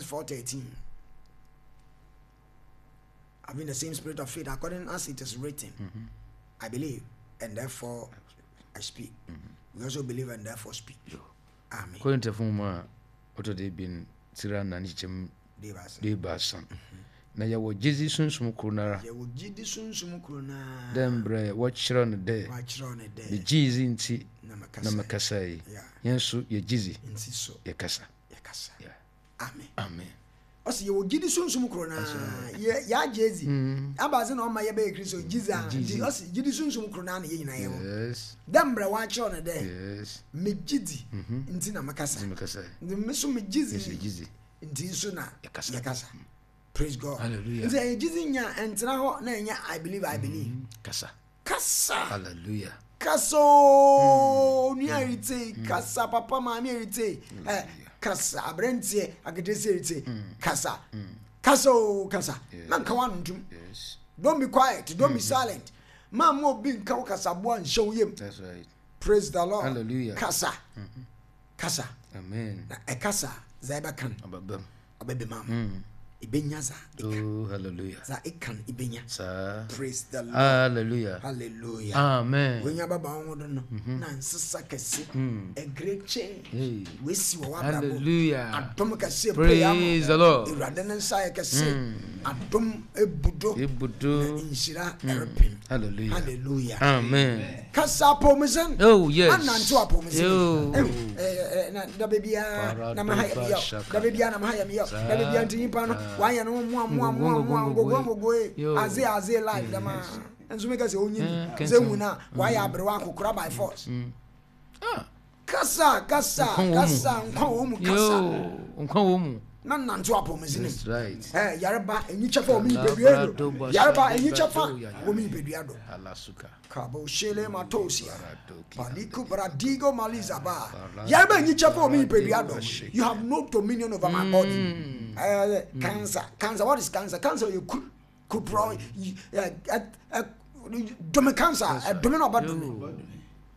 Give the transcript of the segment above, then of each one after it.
Corinthians 4:13. Having the same spirit of faith, according as it is written, mm-hmm. I believe, and therefore I speak. Mm-hmm. We also believe and therefore speak. Amen. Korinthfo nwoma a ɔtɔ do ebien tsir anan nkyekyɛmu duebiasa. Na yɛwɔ gyedzi sunsum kor noara. Yɛwɔ gyedzi sunsum kor noara. Dɛ mbrɛ wɔkyerɛw no dɛ, Megyee dzi ntsi na mekasae. Hɛn so yɛgye dzi, yɛkasa. Amen. Amen. Ɔsi yɛwɔ gyidi sunsum koro naa yɛ yɛagye edzi. Mm. Abadze na ɔma yɛbɛyɛ Kristo gyidzi a nti ɔsi gyidi sunsum koro naa na yɛ nyinaa yɛwɔ. Dɛ mbrɛ wɔakyerɛw no dɛ megye dzi mm-hmm. nti na mekasa. Nti me so megye dzi nti nso na yɛkasa. Praise God. Hallelujah. Nti ɛyɛ gyidzi nya ɛntena hɔ na ɛnyɛ I believe I believe. Mm-hmm. Kasa. Kasa. Hallelujah. Kasa ooo mm. nua eritse mm. kasa papa maame eritse ɛ eh, kasa aberanteɛ aketesia eritse mm. kasa kasa ooo kasa na nka wa ntum. Don't be quiet don't be mm-hmm. silent. Maa mo obi nka wo kasaboa nhyɛ wo yam. That's right. Praise the Lord. Hallelujah. Kasa. Mm-hmm. Kasa. Amen. Na ɛkasa dza ɛbɛka no. Ɔbɛbɛma wo. Mm. Ebenya dza eka. Oh, hallelujah. Dza eka no ebenya. Saa. Praise the Lord. Hallelujah. Hallelujah. Amen. Wenya baba wo ho do no. Mm-hmm. Na nsesa kɛse. Mm. A great change. Hey. Wesi wɔ w'abrabɔ. Hallelujah. Adom kɛse Praise the Lord. Awurade ne nsa yɛ kɛse. Mm. Adom ebudo. Ebudo. Na nhyira ɛrepem. Hallelujah. Hallelujah. Amen. Kasa apɔwmudzen. Oh yes. Anantsew apɔwmudzen. Oh. Ehu eh, na da beebiara na maha yɛ meyɛ da beebiara na maha yɛ meyɛ da beebiara nti nyimpa no wayɛ no mmoa mmoa mmoa mmoa ngogoe ngogoe adze adze life dɛm a nso meka sɛ onyi bi sɛ ehu na wayɛ aberewa akokora by force. Mm. Ah. Kasa kasa kasa nkwa wɔ mu kasa. Nkwa wɔ mu. Na nantew apɔwmudzen mu. That's right. Eh, yareba enyi kyɛfa wɔ me nipadua do. Yareba enyi kyɛfa wɔ me nipadua do. Kabo shele matosia. Paliku bradigo malizaba. Yareba enyi kyɛfa wɔ me nipadua do. You have no dominion over my body. Mm. Eh, cancer, cancer. What is cancer? Cancer yɛ kur, kurpro. Dome cancer, ɛdome na ɔba dome.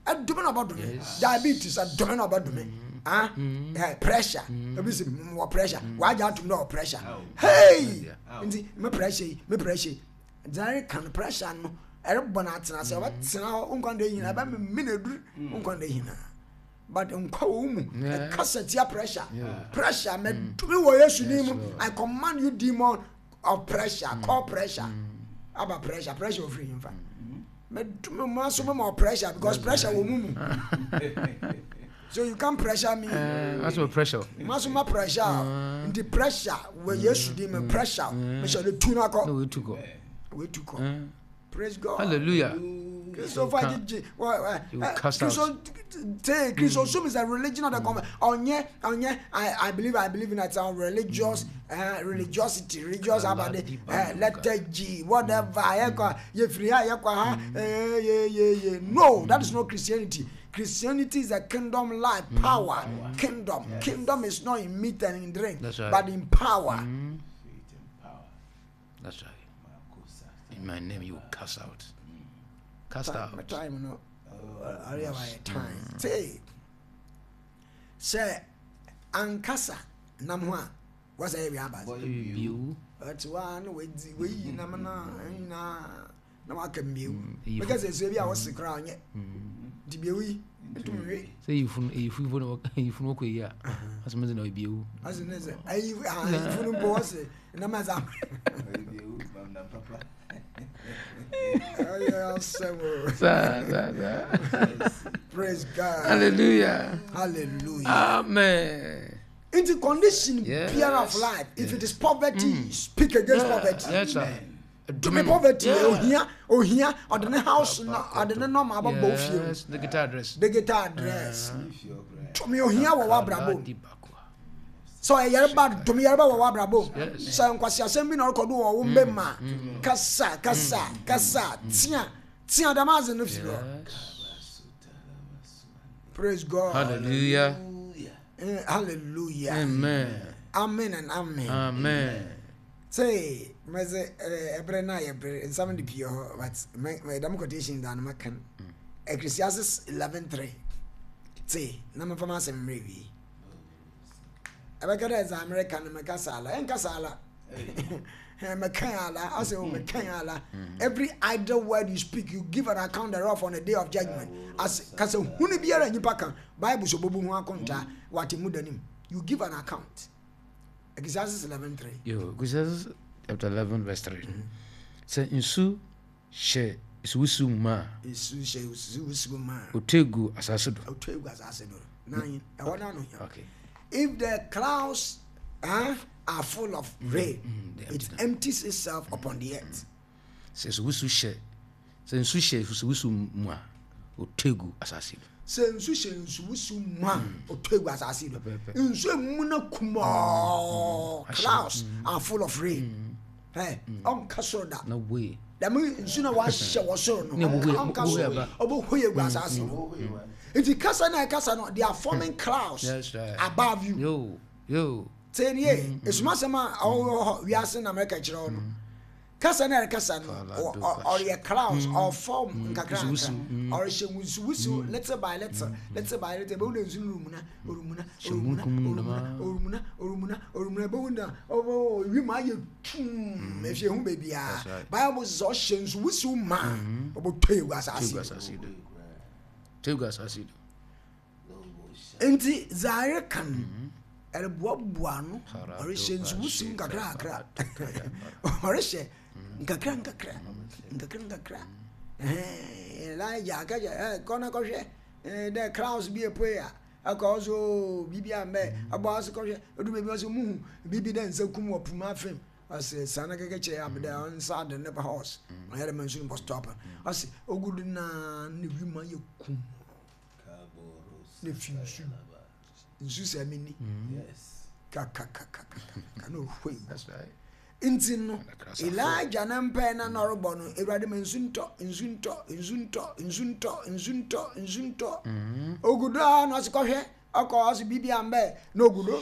Ɛdome na ɔba dome. Diabetes, ɛdome na ɔba dome. Ah, mm. eh, pressure. Mm. Ebi si wɔ pressure. Mm. Wagye atum na wɔ pressure. Hey! Nti me pressure yi, me pressure yi. Dza ereka no pressure no ɛrebɔ no atsena ase ɔbɛtsena hɔ nkwa nda nyina ɛbɛmemene edur nkwa nda nyina but nkwa wɔ wo mu ɛkasa tia pressure pressure mɛdome wɔ Yesu din mu I command you demon of pressure call pressure aba pressure pressure ofiri nyimfa mɛdome mu aso mɛma pressure because pressure wɔ mu mu so you can pressure me. Maso pressure. Maso ma pressure. Mm. Nti pressure wɔ Yesu din mu pressure. Mehyɛ de tu na kɔ. Na wetu kɔ. Wetu kɔ. Praise God. Hallelujah. Christopher Gigi. Christo te Christo sum is a religion of the common. Onye onye I believe I believe in that some religious uh, religiosity religious abade uh, letter G whatever. Yekwa ye free ha yekwa ha. Eh ye ye ye. No, that is not Christianity. Christianity is a kingdom life, mm. power, mm. Kingdom. Yes. Kingdom is not in meat and in drink, right. but in power. Mm. That's right. In my name, you cast out. Cast time, out. Time, no. Uh, time. Mm. Say, say, ankasa nam ho a wasa yɛ wia aba. Ɛti wa na wadi wayi nam na nyinaa. na waka mbiewu mm, meka sɛ sɛ bi a wɔse koraa ɔnyɛ mm. nti biewu yi ntum nwe sɛ yifunu yifunu no yifunu kɔ yi a asɛ mo sɛ na ebiewu asɛ ne sɛ ayi yifunu mpo wɔse na ma sa Praise God. Hallelujah. Hallelujah. Amen. Into condition yes. biara of life, if yes. it is poverty, mm. speak against yeah. poverty. Yes, sir. Dome poverty yeah. ohia ohia ɔde ne house na ɔde ne nɔɔma abɛbɔ ofie mu. Digital address. Digital address. Dome ohia wɔ w'abrabɔ mu. Sɛ ɔyɛ yareba dome yareba wɔ w'abrabɔ mu. Sɛ nkwasiasɛm bi na ɔrekɔ do wɔ wo mbɛ mu a mm. kasa kasa mm. kasa tea tea dɛm adze no firi hɔ. Praise God. Hallelujah. Eh, hallelujah. Amen. Amen and amen. Amen. Say, mese ɛberɛ no a yɛbrɛ nsɛm de pii hɔ but me dɛm quotation da no maka no mm. Ecclesiastes 11:3 te na memfa m'asɛm mmerɛ wie. Ɛbɛka dɛ dza mereka no mekasa ala. Ɛnkasa ala. Meka ala. I say, oh, meka ala. Every idle word you speak, you give an account thereof on the day of judgment. As kasa hunu biara nyimpa ka, Bible so bobu ho akontaa wɔ atemmu da no mu. You give an account. Ecclesiastes 11:3. Yo, Ecclesiastes chapter 11 verse 3. Sɛ nsu hyɛ nsuwusiw mu ma a. Nsu hyɛ nsuwusiw mu ma a. Otue gu asase do. Otue gu asase do. Nan, ɛhɔ na no hia. Okay. If the clouds are full of rain, it empties itself upon the earth. Sɛ nsuwusiw hyɛ sɛ nsu hyɛ nsuwusiw mu a, otue gu asase do. Sɛ nsu hyɛ nsuwusiw mu a, otue gu asase do. Nsu emu na kumɔɔ, clouds are full of rain. Ɛ ɔnka soro da. Na obuei. Dɛm nsu na wɔahyɛ wɔ soro no, ɔnka soro, ɔbɛhue agu asase do. Nti kasa na ɛkasa no, they are forming clouds above you. Yo, yo. Tie nie, esumasɛm a ɔwɔ hɔ wiase na mɛka kyerɛ wo no. Kasa na ɛrekasa no, ɔreyɛ clouds, ɔfɔm nkakra nkakra, ɔrehyɛ wusiwusiw little by little, little by little, ebehu dɛ nsu no rumuna, orumuna, orumuna, orumuna, orumuna, orumuna, orumuna, ebehu dɛ ɔbɔ wim ayɛ tumm, efi ehu beebiara. Bible sɛ ɔhyɛ nsu wusiw ma, ɔbɔtɔ egu asase do. Tɔ egu asase do. Ntsi dza ereka no, eroboaboa ano, ɔrehyɛ nsuwusiw nkakrankakra, ɔrehyɛ nkakrankakra, nkakrankakra. Elijah aka kyerɛ, kɔ na kɔhwɛ dɛ clouds bi epue a, ɔkɔ ɔse oo biribi ammbɛ, ɔbɔ ase kɔhwɛ, odu beebi ɔse muhu biribi dɛ nsa kum wɔ po mu afem, ɔse san kɛkɛ kyerɛ Ahab dɛ ɔnsa de ne horse, ɔnyɛ dɛ ma nsu no bɔ stop, ɔse ogu do naa na wimu ayɛ kum. Na fi nsu nsu sɛ me ni kakakakaka na ɔhwei nti no Elijah ne mpae na na ɔrebɔ no awurade ma nsu ntɔ nsu ntɔ nsu ntɔ nsu ntɔ nsu ntɔ nsu ntɔ mm. ogudo a na ɔse kɔhwɛ ɔkɔ ɔse biribi ambɛ na ogudo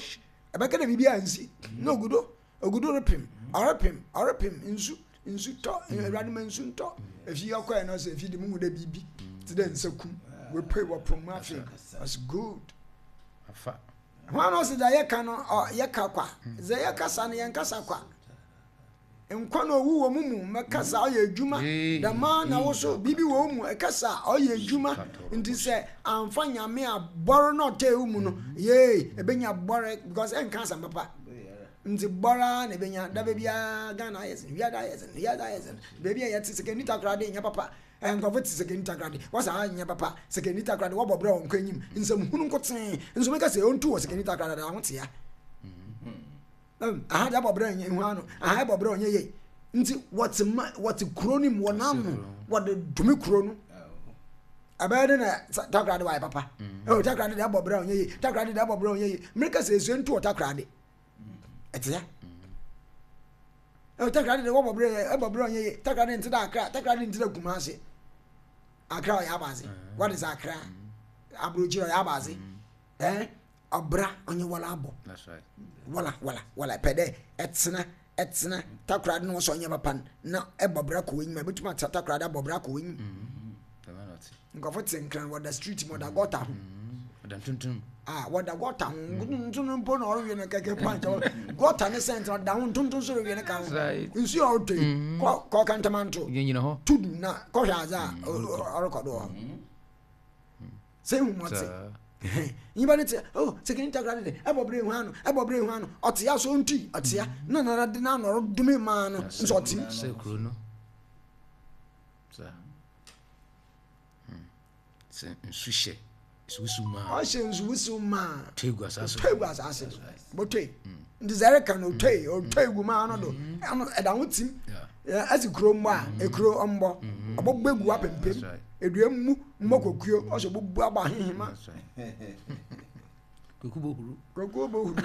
ɛbɛka dɛ biribi ansi na ogudo Ogudo repem, ɔrepem, ɔrepem, nsu, nsu tɔ, Awurade ma nsu ntɔ. Efi ɔkɔɛ no ɔsɛ efi de mu hu dɛ biribi te dɛ nsakum wepue wɔ po mu afei. Ɔsɛ good. Afa. Hwan na ɔsɛ dza yɛka no yɛka kwa. Dza yɛkasa no yɛnkasa kwa. Nkwa na owu wɔ mo mu, mɛkasa ɔyɛ adwuma. Dɛm ara na wo so biribi wɔ wo mu, ɛkasa ɔyɛ adwuma. Nti sɛ amfa Nyame a bɔre na ɔtɛɛ wo mu no, yee, ebenya bɔre because ɛnka asɛm papa. Ntsi bɔr ara na ebenya. Daba biara Ghana ayɛ dzen, wiadze ayɛ dzen, wiadze ayɛ dzen. Beebi a yɛtse, Sekondi Takoradi nnyɛ papa. Nkorɔfo tse Sekondi Takoradi, wɔse ha nnyɛ papa. Sekondi Takoradi, wɔbɔ bra a ɔnnkɔ enyim. Nsɛm hun nkotsee. Nso meka se ontu wɔ Sekondi Takoradi a, ho tsea. Aha dze abɔ bra nnyɛ hu ano, aha ebɔ bra ɔnnyɛ yie. Ntsi wɔtse ma wɔtse kurow no mu, wɔnam no, wɔde dome kurow no. Ɛbɛyɛ dɛ na Takoradi wɔayɛ papa. Oh, Takoradi de abɔ bra ɔnnyɛ yie, Takoradi de abɔ bra ɔnnyɛ yie. Meka sɛ esua ntu wɔ Takoradi. Ɛte ya. Takoradi de wɔbɔ bra ɛbɔ bra ɔnnyɛ yie. Takoradi nte dɛ Accra, Takoradi nte dɛ Kumasi. Accra ɔyɛ abadze. What is Accra? Aburokyire ɔyɛ abadze. Eh? Ɔbra ɔnye wala abɔ. Wala wala wala pɛ dɛ ɛtsena ɛtsena Takoradi na wɔsɛ ɔnyɛ papa no na ɛbɔ bra kɔ w'enyim a ebɛtum atena Takoradi abɔ bra kɔ w'enyim. Nkorɔfo tse Nkran wɔda street mu wɔda gutter ho. Wɔda ntontom. Ah wɔda gutter ho ntontom mpo na ɔrewe no kɛkɛ punch gutter ne sɛnt ɔda ho ntontom so rewe ne ka ho. Nsu a ɔtɔ yi kɔ kɔ Kantamanto. Tudu na kɔhwɛ adze a ɔrekɔ do wɔ hɔ. Sɛ ehu mu ɔtse. Nyimpa no tse oh sekeni takra de ɛbɔ bere hu ano ɛbɔ bere hu ano ɔtse ya so ntui ɔtse ya na nara de n'ano ɔredome maa no nso ɔtse mu. Sɛ kuro no sa sɛ nsu hyɛ nsuwusiw maa. Ɔhyɛ nsuwusiw maa. Ɔtɔ egu asaase. Ɔtɔ egu asaase do. Bɔtɔe. Nti sɛ ɛreka no ɔtɔe ɔtɔ egu maa no do ɛno ɛda ho tim. Ɛsi kuro mmɔ a ekuro ɔmbɔ ɔbɔbɔ egu apempem edua mu mmɔ kokuo ɔsɛ ɔbɔbu abɔ ahehema. Koku bɔ huru. Koku bɔ huru.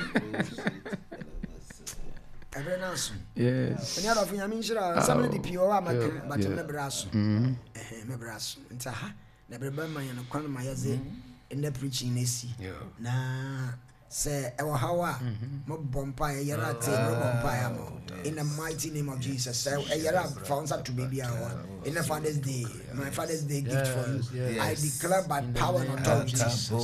Ɛbɛrɛ no aso. Yes. Ɛni adɔfo nyame nhyira nsɛm no de pii wɔ hɔ a maka but me brɛ aso. Ɛhɛn me brɛ aso. Nti aha na ɛbɛrɛ bɛma yɛn kwan ma yɛdze nnɛ preaching no asi na Sɛ ɛwɔ haw a, mo bɔ mpaeɛ, yɛrɛ ate, mo bɔ mpaeɛ ama wo. In the mighty name of Jesus. Sɛ ɛyɛrɛ a, fa wo nsa to baabi a ɛwɔ. In the Father's Day, my Father's Day gift for you. I declare by power and authority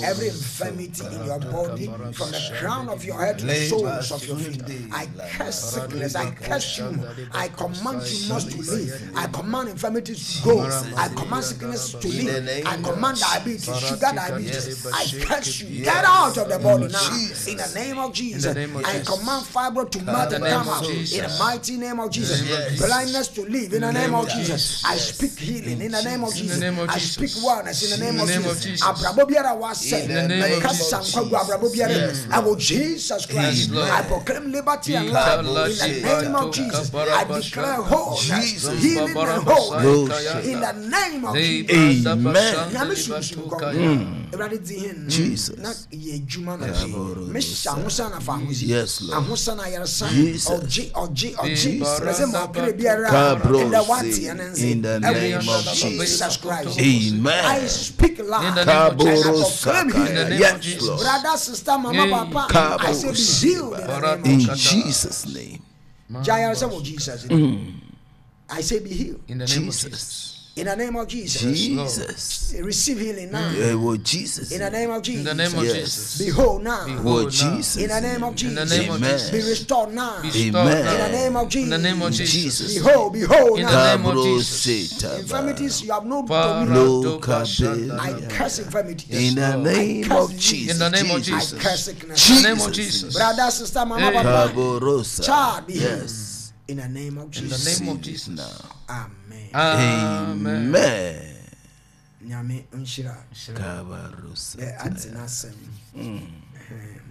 every infirmity in your body, from the crown of your head to the soles of your feet. I curse sickness. I curse you. I command you must to leave. I command infirmities to go. I command sickness to leave. I command diabetes, sugar diabetes. I curse you. Get out of the body now. In the name of Jesus. I command fibro to melt and come out. In the mighty name of Jesus. Blindness to leave. In the name of Jesus. I speak healing. In the name of Jesus. I speak wellness. In the name of Jesus. Abrabɔ biara wasɛ. Mekasa nkwa gu abrabɔ biara mu. Ɛwɔ Jesus Christ. I proclaim liberty and life. In the name of Jesus. I declare wholeness, healing and wholeness. In the name of Jesus. Amen. Nyame sunsum kɔnkɔn. Awurade di hin. Jesus. Na yɛ adwuma na gye. Mehyɛ ahosan na fa ahosi. Yes, Lord. Ahosan ayaresa. Jesus. Ɔgye ɔgye ɔgye. Jesus. Ɛsɛ ma ɔkra biara. Kabro Ɛnda se, wate ɛne nse. in the Ɛwɔ name of Jesus Christ. Amen. I speak life. In the name of And I Kaboro proclaim Sakaya. healing. Yes, Lord. Brother, sister, mama, papa, I say be healed in the name of In Jesus. Jesus' name. Gya ayaresa wɔ Jesus. Mm. I say be healed. In the name of Jesus. Jesus. In the name of Jesus. Jesus. Receive healing now. Yeah, well, Jesus. In the name of Jesus. In the name of Yes. Jesus. Be whole now. Be Well, whole now. Jesus. In the name of In Jesus. the name of Amen. Jesus. Be restored now. Be restored Amen. now. In the name of In the name of Jesus. Jesus. Be whole, be whole In the now. name of Kabro Jesus. Setaba. Infirmities, you have no dominion. Lo I curse infirmities. In the Lord. name I curse of disease. Jesus. In the name of I Jesus. curse sickness. In the name of Jesus. Jesus. Brother, sister, mama, Hey. papa. Kaborosa. Child, be healed. Yes. In the name of In the Jesus. name of Receive it Jesus. now. Amen. Amen. Amen. Nyame nhyira. Kabarosa. Dɛ ate n'asɛm.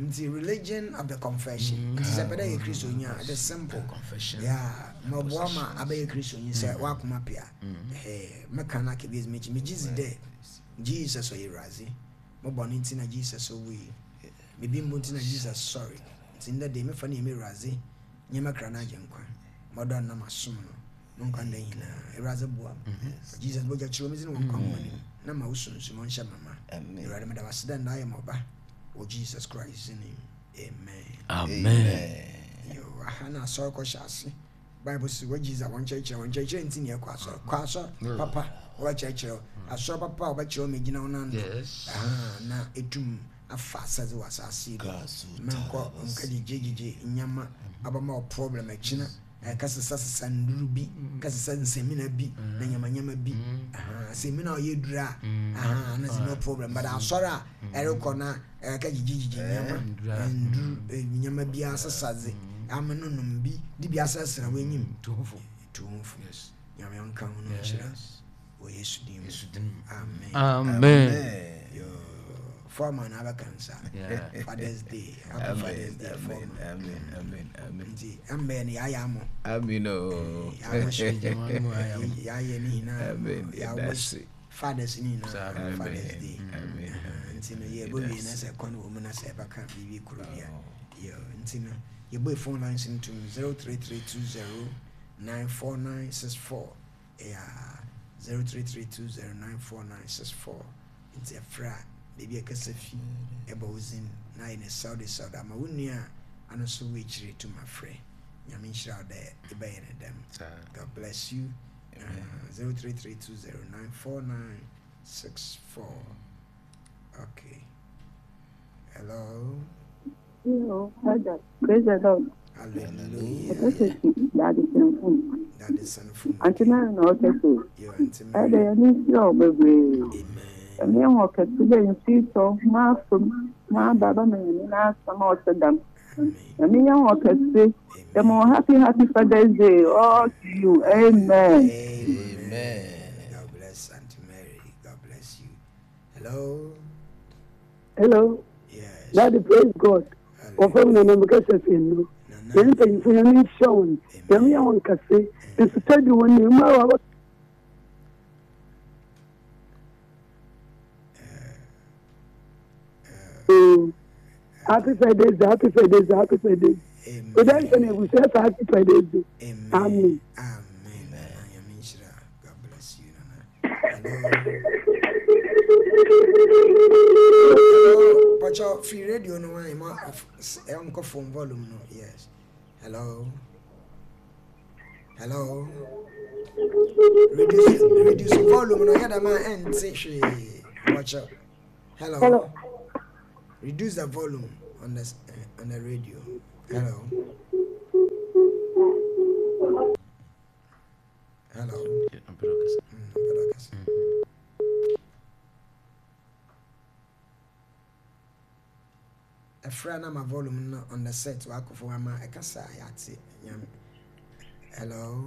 Nti religion of the confession. Nti sɛ pɛ dɛ yɛ Kristoni a, it is simple. Confession. Yeah, mɔboa ma abɛyɛ Kristoni sɛ wakoma pia. Mɛka no aka bi mekyi. Megye dzi dɛ Jesus ɔyɛ Awurade. Mobɔ ne nti na Jesus owui. Bibi mbo nti na Jesus sɔre. Nti ndɛ de mefa ne yɛ me Awurade. Nyɛ mɛkra no agye nkwa. Mɔdɔ no na masom no. Mo nkwa nda nyinaa. Awurade boa me. Jesus bɔgya kyerɛ me dzi ne wɔ nkwa nwoma no mu. Na ma wo sunsum ɔnhyɛ mama. Amen. Awurade meda wo ase dɛ nda ayɛ ma ɔba. Wɔ Jesus Christ name. Amen. Amen. Yo, aha na asɔre kɔhyɛ ase. Bible sɛ wɔ Jesus a wɔnkyerɛkyerɛ wɔnkyerɛkyerɛ nti ne ɛkɔ asɔre. Kɔ asɔre papa wɔbɛkyerɛkyerɛ wo. Asɔre papa a wɔbɛkyerɛ wo ma gyina wo nan do. Yes. Aha, na etum afa asɛdze wɔ asase yi do. Kasu Menkɔ nka gyegye nyama abama wo problem akyina. Ɛka sesa sesa nduru bi, ka sesa nsɛmina bi, na nyama nyama bi. Aha, sɛmina a ɔyɛ duru a, aha, na sɛ no problem. But asɔre a ɛrekɔ na ɛka gyegye nyama, nduru, nyama bi asesa dze, ama no nom bi, de bi asrasra w'enyim. Tuhufo. Tuhufo. Yes. Nyame ɔnka ho no nhyira. Yes. Wɔ Yesu din mu. Yesu din mu. Amen. Amen. Yo, foreman abɛka nsa. Yeah. Father's Day. Happy Amen. Father's Day, Amen. foreman. Amen. Amen. Amen. Nti ɛmbɛn no yɛayɛ amɔ. Amen. Oh. Yɛayɛ ne nyinaa. Amen. Yɛawɔ That's it. fathers ne nyinaa Amen. Father's Day. Amen. Nti no yɛbɔ wie na sɛ kwan wɔ mu na sɛ ɛbɛka biribi koro bi a. Yo, nti no yɛbɔ phone lines no tom 03320 94964. Yeah, 03320 94964. Nti ɛfrɛ a baabi a ɛkasa fi ɛbɔ wo dzin na ayɛ ne sɛwde sɛwde ama wo nua a ano so wɔ akyire tum afrɛ. Nyame nhyira wo dɛ ɛbɛyɛ ne dɛm. God bless you. 03320 94964. Okay. Hello. Hello, Father. Praise the Lord. Hallelujah. Ɛkɛsɛ Daddy Senfum. That is son Auntie Mary na ɔkɛse. Yo, Auntie Ɛdɛ Mary. yɛn ni nhyira wo bebree. Amen. Ɛmi ɛwɔ kɛse dɛ nsu tɔ maa fam maa ba ba ma yɛn n'asɛm a ɔhyɛ dam. Amen. Ɛmi yɛn wɔ kɛse. Yɛn wɔ happy happy Father's Day all to you. Amen. Amen. God bless Auntie Mary. God bless you. Hello. Hello, Yes. Daddy, praise God. Wɔfrɛ me Nana Mekasa fi Nnuro. Nana. Yɛn mpanyinfo yɛn nhyia wɔn. Yɛn yɛ wɔn kɛse. Nsutɔ di wɔn nim. Mmaa wa Happy Father's Day, happy Father's Day, happy Father's Day. Amen. Oda nsɛ na ebusua sɛ happy Father's Day. Amen. Amen. Amen. Nana Nyame nhyira. God bless you, Nana. Hello. Hello. Pacho, free radio no one. Ma, uncle phone volume no. Yes. Hello. Hello. Reduce reduce volume no yɛ dɛm a ɛnte hwee. Watch out. Hello. Hello. Reduce the volume on the on the radio. Hello. Hello. Ɛfrɛ na ma volume no on the set wakɔfo ama ɛkasa yɛate nyame. Hello.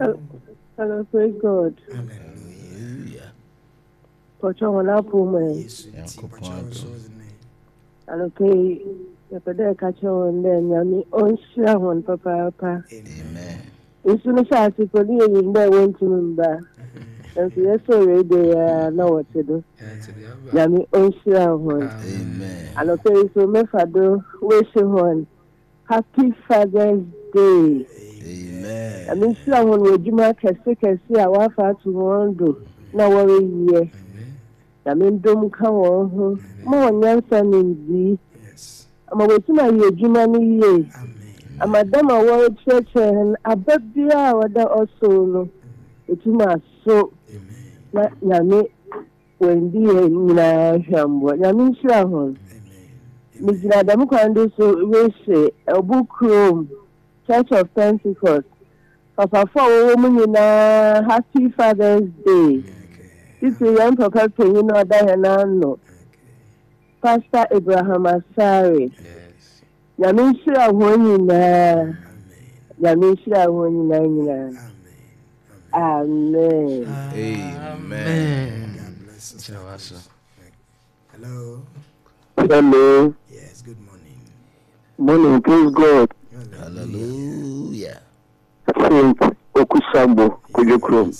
Hello, praise God. Hallelujah. Pɔtɔ wɔn apɔ mu ɛ. Yesu nti pɔtɔ so ne. Anɔpa yi, yɛpɛ dɛ yɛka kyerɛ hɔn dɛ Nyame ɔnhyira hɔn papaapa. Amen. Nsu no hyɛ ase po no yenyim dɛ wonntum mmba, naaso yɛsɔr radio yi ara na wɔtse do. Nyame ɔnhyira hɔn. Amen. Anɔpa yi so mefa do wish hɔn Happy Father's Day. Amen. Nyame nhyira hɔn wɔ edwuma kɛse kɛse a wɔafa ato hɔn do na wɔreyɛ. Nyame ndom nka hɔn ho, ma hɔn nyansa nyimdzee, ama woetum ayɛ edwuma no yie, ama dɛm a wɔrekyerɛkyerɛ hɛn aba biara a ɔda ɔsor no, otum aso na Nyame oenndi hɛn nyina hwambɔ. Nyame nhyira hɔn. Migyina dɛm kwan do so rese Obu Kurom Church of Pentecost Papafo a wɔwɔ mu nyinaa Happy Father's Day. Titiriw yɛn papa panyin a ɔda hɛn ano, Pastor Abraham Asare. Nyame nhyira hɔn nyinaa. Nyame nhyira hɔn nyinaa nyinaa. Amen. Amen. God bless us. Nhyira w'aso. Hello. Hello. Yes, good morning. Morning, praise God. Hallelujah. Saint Okusambo, Kojokrom.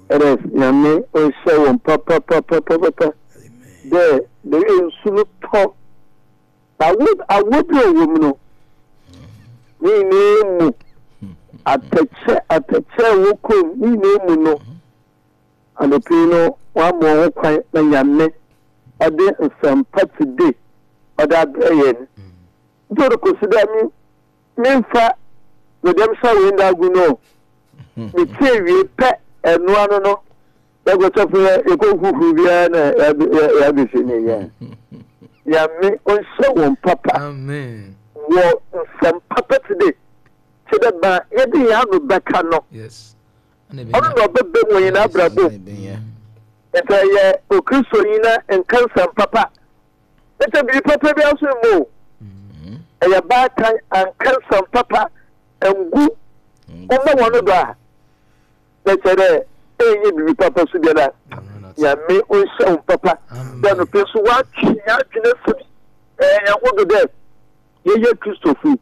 Ɛdɛ nyame ɔnhyɛ wɔn papapapapapa dɛ bɛyɛ nsu no tɔ awo awo bi a ɔwɔ mu no ne nyinaa mu atɛkyɛ atɛkyɛ a ɛwɔ kurom ne nyinaa mu no Anɔpa yi no wɔama wɔn ho kwan na Nyame ɔde nsɛmpa today ɔde abrɛ yɛn. Nti ɔde kɔsi dɛ me memfa me dɛm hyɛ wei nda agu no. Metie wie pɛ ɛno ano no yɛkɔsɔfo yɛ yɛkɔ huhu biara na yɛabɛsi ne yɛ. Nyame ɔnhyɛ wɔn papa wɔ nsɛmpa pɛ today. Kyɛ dɛ ma yɛde yɛn ano bɛka no. Yes. Ɔno na ɔbɛba mu wɔ hɛn abrabɔ mu. Ntsi ɛyɛ Okristonyi na nka nsɛm papa. Nkyɛ biribi papa biara so mma o. Ɛyɛ baatan anka nsɛm papa anngu wo mba hɔn do a, na kyerɛ dɛ ennyɛ biribi papa so biara. Nyame onhyira wo papa dɛ anɔpa yi so wɔatwe hɛn adwen esi hɛnho do dɛ yɛyɛ Kristofo yi.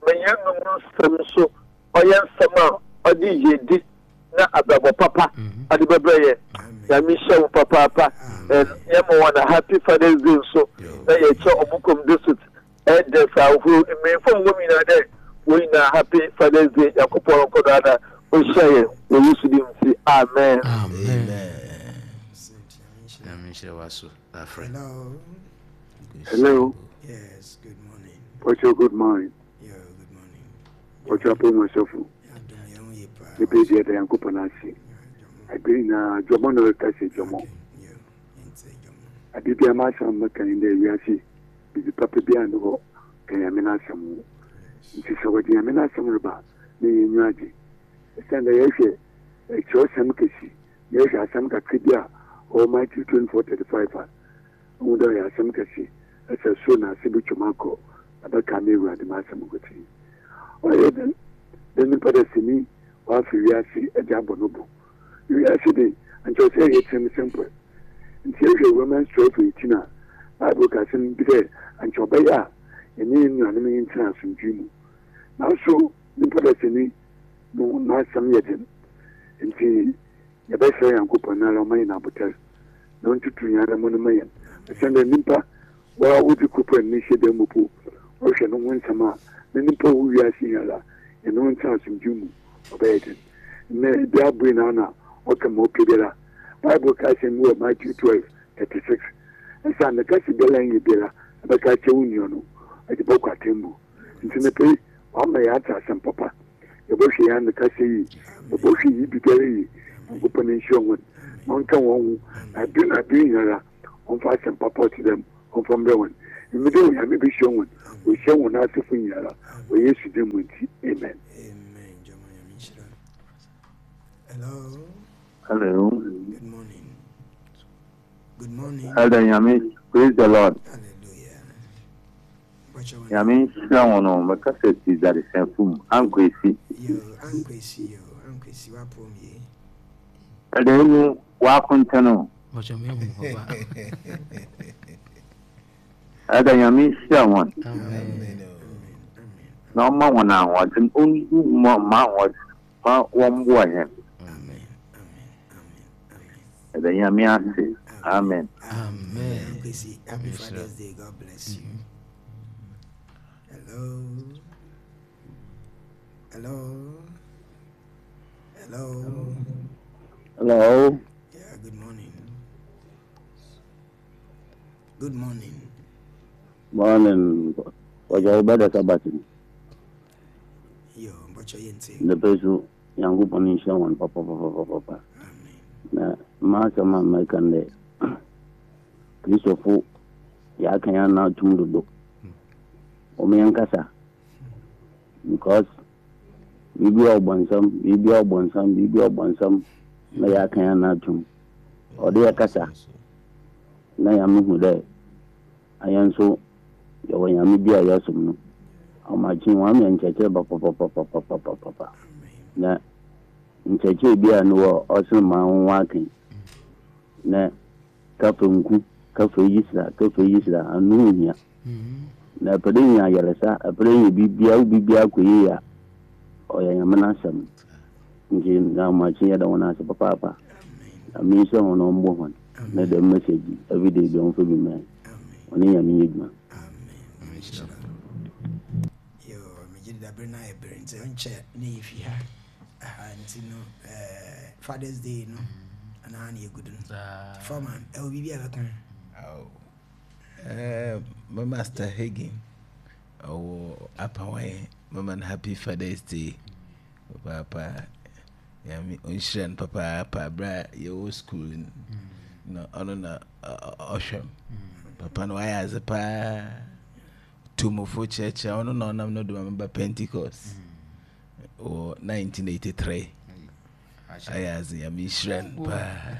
Ma yɛn anom nsɛm nso ɔyɛ nsɛm a ɔde yiedi na abrabɔ papa ɔde bɛbrɛ yɛn. Nyame nhyira wo papaapa. And yɛma wɔn a happy Father's Day nso na yɛkyɛ ɔmo kom district elders ahorow mmanyinfo a wɔwɔ mu nyinaa dɛ wɔn nyinaa happy Father's Day. Nyankopɔn nkɔ do ara na ɔnhyira yɛn wɔ Yesu din mu nti amen. Amen. Nyame nhyira w'aso afrɛ. Hello. Hello. Yes, good morning. Pocho, good morning. Yeah, good morning. Pocho apo masofo. Ne pe dia da Yankopɔn ase. Abiri na dwɔmɔ na ɔreka sɛ dwɔmɔ. Ade bia ma asɛm mɛka ne dɛ wiase bibi papa bi a ne hɔ ka Nyame n'asɛm ho. Nti sɛ wɔde Nyame n'asɛm reba na yɛn nyi agye. Ɛsiane dɛ yɛhwɛ kyerɛwsɛm kɛsi na yɛhwɛ asɛm kakra bi a ɔwɔ Matthew 24:35 a Ohu dɛ ɔyɛ asɛm kɛse sɛ sor na ase botwa mu akɔ na bɛkaa m'Ewuradze m'asɛm nkotsee. Ɔyɛ dɛn dɛ nyimpa dasani ɔafa wiase dze abɔ no bo? Wiase de, ankyɛ ɔsɛ yɛyɛ tsirimsɛmpɔw. Ntsi yɛhwɛ Romans 12:18 a, Bible ka asɛm bi dɛ ankyɛ ɔbɛyɛ a yɛnye hɛn nuanom ntsena asomdwee mu. Naaso nyimpa dasani no n'asɛm yɛ dzen. Ntsi yɛbɛserɛ Nyankopɔn noara ɔmma hɛn abotar na onntutu hɛn anamɔn mma hɛn, osiandɛ nyimpa woara wodzi kor pɛ ne hyɛda mu mpo, ɔhwɛ no ho nsɛm a, na nyimpa a ɔwɔ wiase yi ara, hɛn ho ntsena asomdwee mu, ɔbɛyɛ dzen. Ndɛ bi abue n'ano a, ɔka ma ɔpɛ biara. Bible ka asɛm bi wɔ Matthew 12:36, Esiandɛ kasa biara a nnyɛ biara ebɛka akyerɛ wo nua no, edze bɔkɔ atsɛmbu. Ntsi mepɛ yi, ɔama yɛatse asɛm papa. Yɛbɔhwɛ hɛn ano kasa yie, yɛbɔhwɛ hɛn biribiara yie. Nyankopɔn nhyira hɔn na ɔnka hɔn ho na aber na aber nyinara ɔmfa asɛm papa a ɔtse dɛm ɔmfa mbrɛ hɔn. Emi dɛ Onyame behyira hɔn, oehyira hɔn asefo nyinara wɔ Yesu dzin mu ntsi, amen. Amen. Jama Nyame nhyira. Hello. Hello. Good morning. Good morning. Elder Nyame, praise the Lord. Hallelujah. Nyame nhyira wɔn o, mɛka sɛ ti dadesɛn fum, ankwesi. Yo, ankwesi yo, ankwesi wapom ye. Elder enu wakontɛn o. Bɔkyɛ me hu papa. Elder Nyame nhyira wɔn. Amen. Na ɔma wɔn ahoɔden, ɔngu ma ahoɔden ma wɔmboa yɛn. Yɛda Nyame ase. Amen. Amen. Kwesi, happy Father's Day. God bless you. Hello. Hello. Hello. Hello. Yeah, good morning. Good morning. Morning. Ọjọ́ ọbẹ̀ sabati. Yo, mbọchọ yẹn ti. Ndepẹ so Nyankopɔn nhyira wɔn papapapapapa. Na m'asɛm a mɛka no dɛ Kristofo yɛaka yɛn ana atum dodo. Wɔn yɛn kasa. Because biribi a ɔbɔnsam, biribi a ɔbɔnsam, biribi a ɔbɔnsam na yɛaka yɛn ana atum. Ɔde yɛ kasa na Nyame hu dɛ ayɛn nso yɛwɔ Nyame bi a yɛsom no. Ɔmakye wɔn ama nkyerɛkyerɛ papapapapapapapa. Na nkyerɛkyerɛ bi a no wɔ ɔsen ma ho ake. Na kafa nku, kafa yisra, kafa yisra, ano ho hia. Na ɛpɛ dɛ nya ayaresa, ɛpɛ dɛ nya biribiara, wo biribiara kɔ yie a, ɔyɛ Nyame n'asɛm. Nti na ɔmakye yɛda wɔn ase papaapa. Nyame nhyira wɔn na ɔmbɔ wɔn. Na dɛm message yi, everyday bi ɔmfa bi mma yɛn. Ɔne Nyame nyɛ adwuma. Amen. Yo, megye di dabere na ayɛ bere nti ɔnkyɛ na yɛfi ha. Aha nti no eh, Father's Day no anaa na yɛgu do no. Foreman, ɛwɔ biribi a bɛka? Eh, my master Hagin, ɔwɔ Apawan, mama no happy Father's Day. Papaapa, Nyame ɔnhyira no papaapa berɛ a yɛwɔ school no, na ɔno na ɔhwɛ m. Papa no wayɛ adze paa. Tumufo kyerɛkyerɛ ɔno na ɔnam no do ma meba Pentecost wɔ 1983. Ayɛ adze Nyame nhyira no paa.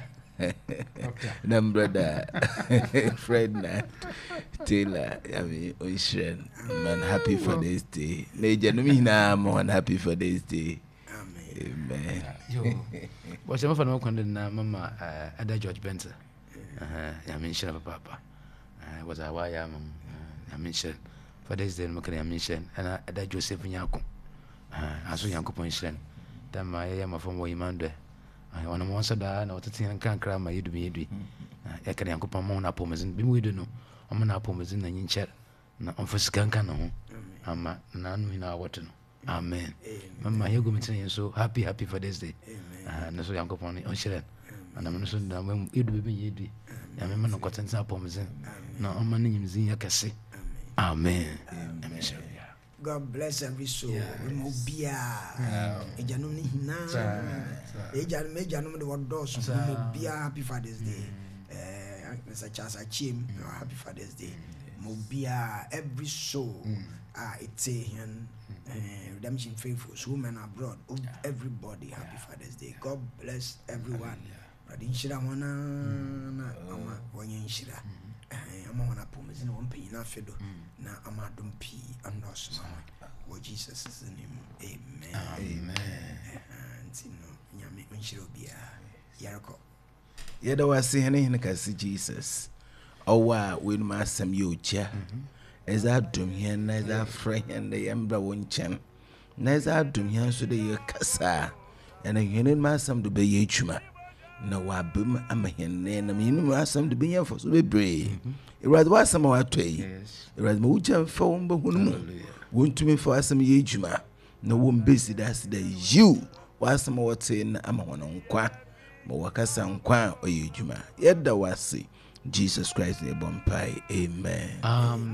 Na m brother Ferdinand Taylor Nyame ɔnhyira no. Man happy Father's Day. Na agyanom nyinaa ma wɔn happy Father's Day. Amen. Bɔhyɛ mafa no kwan de na mama Ada George Benson. Nyame nhyira papaapa. Wɔdze a wayɛ ama mu. Nyame nhyira. Father's Day no meka Nyame nhyira. Ɛna Ada Joseph Nyako. Aso Nyankopɔn nhyira no. Dɛ ma yɛyɛ mmɔfra wɔ Emmanuel. Ɔnam wɔn nsa daa na wɔtete yɛn nkrankra ma yɛdu bɛyɛ dui. Yɛka Nyankopɔn ma wɔn apɔmudzen. Bi mu edu no, ɔma no apɔmudzen na nyinkyɛr na ɔmfa sika nka ne ho ama n'ano nyinaa wɔte no. Amen. Mama yɛ gumi tena yɛn so happy happy Father's Day. Ne so Nyankopɔn ne ɔnhyira no. Anam no so na yɛdu baabi nyɛ yɛdu. Nyame ma no nkɔtenten apɔmudzen na ɔma ne nyimdzee yɛ kɛse. Amen. Amen. God bless every soul. Yes. Obiara. Agyanom ne nyinaa. Agyanom agyanom de wɔdɔɔso. Obiara happy Father's Day. Eh, Mr. Charles Achiem, happy Father's Day. Obiara every soul. Ah, it's a redemption faithful, women abroad, everybody happy Father's Day. God bless everyone. Awurade nhyira wɔn na ama wɔnyɛ nhyira. Ama wɔn apɔmuden wɔn mpanyin afe do na ama adom pii anɔɔso ma wɔn wɔ Jesus name. Amen. Amen. Nti no Nyame nhyira obiara. Yɛrekɔ. Yɛda wo ase hɛn Hen kɛse Jesus, ɔwo a w'enum asɛm yɛ ogya, edze adom hɛn na edze afrɛ hɛn dɛ yɛmbra wo nkyɛn, na edze adom hɛn so dɛ yɛkasa a, ɛna hɛn enum asɛm do bɛyɛ edwuma, na wɔaba mu ama hɛn, na yɛnam hɛn enum asɛm do benya mfaso beberee. Ewuradze, w'asɛm a wɔatɔ yi, Ewuradze ma wo gya mfa wo mba hɔn mu, wontumi mfa w'asɛm yɛ edwuma, na wombedzi dase dɛ, yiw, w'asɛm a wɔtsee no ama hɔn nkwa. Ma wakasa nkwa a ɔyɛ adwuma. Yɛda wo ase. Jesus Christ na yɛbɔ mpae. Amen. Amen.